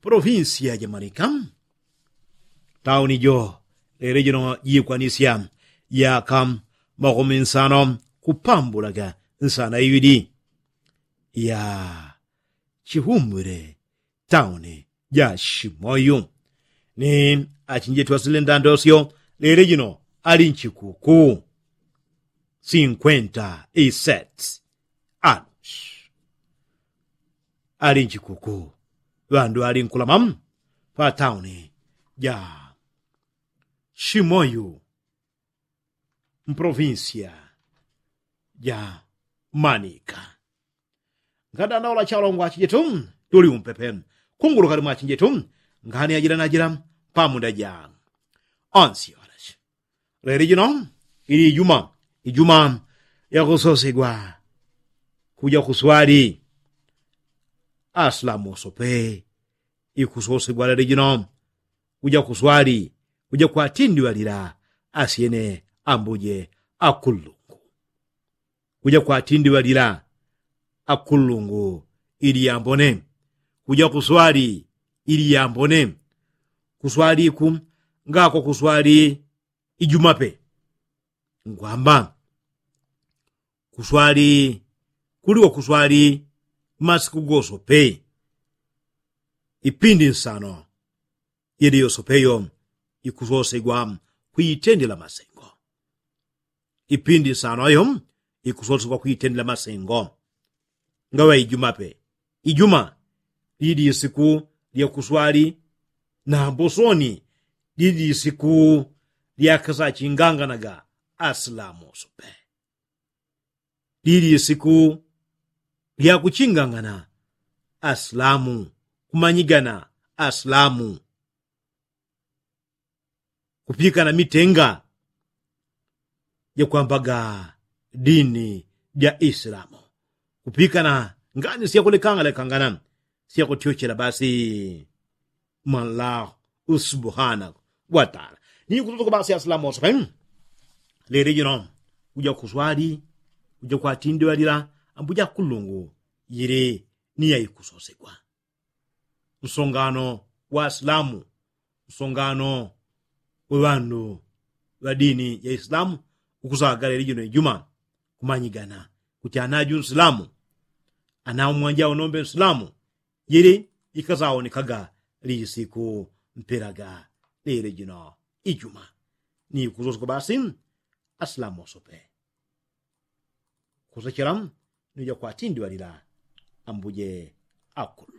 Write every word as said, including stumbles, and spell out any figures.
Polofinsiya ja manika. Tauni jo lele jino jikwanisya yaka makumi nsano kupambulaga nsana iwili ya chihumbwile tauni ja shimoyu. Ni achinjetu asile ndandosyo lele jino ali nchikuku sinkwenta isets alush ali nchikuku ŵandu ŵali nkulama pa tauni ja shimoyu mpolofinsiya ja manika. Ngadanaula chalongwa chijetu tuli umpepe kunguluka limwa chijetu ngani ajila najila pamunda ja onsi yoleshi. Leli jino ili ijuma ijuma yakusosigwa kuja kuswali. Aslamu osope ikusosigwa leli jino kuja kuswali kuja kwatindiŵalila asyene ambuje akullungu. Kuja kwatindiŵalila akullungu ili yambone. Kuja kuswali ili yambone. Kuswaliku ngako kuswali ijumape ngwamba kuswali kuliwa kuswali masiku gosope. Ipindi nsano yili yosopeyo ikusosegwa kwitendela masengo. Ipindi nsano ayo ikusosegwa kwitendela masengo. Ngaŵa ijuma pe ijuma lili isiku lya kuswali na mbosoni lili isiku lya kasachinganganaga asilamu oso pe. Lili isiku lya kuchingangana asilamu kumanyigana asilamu kupikana mitenga jakwambaga dini ja isilamu kupikana ngani syakulekangalekangana syakutyochela basi. Mwallahu subhanahu wataala ni kututuka basi asilamu oso pe. Lele jino kuja kuswali kuja kwatindiŵalila ambuja kulungu yili ni yaikusosegwa. Msongano wa asilamu msongano wa ŵandu ŵa dini ya isilamu ukusagala ili jino ijuma kumanyigana kuti anaju nsilamu anaumwanja unombe nsilamu. Jili ikasaonekaga lisiku mpelaga lili jino ijuma ni kusosoka basi asilamu oso pe kusechela ni uja kwatindiŵalila ambuje akulu.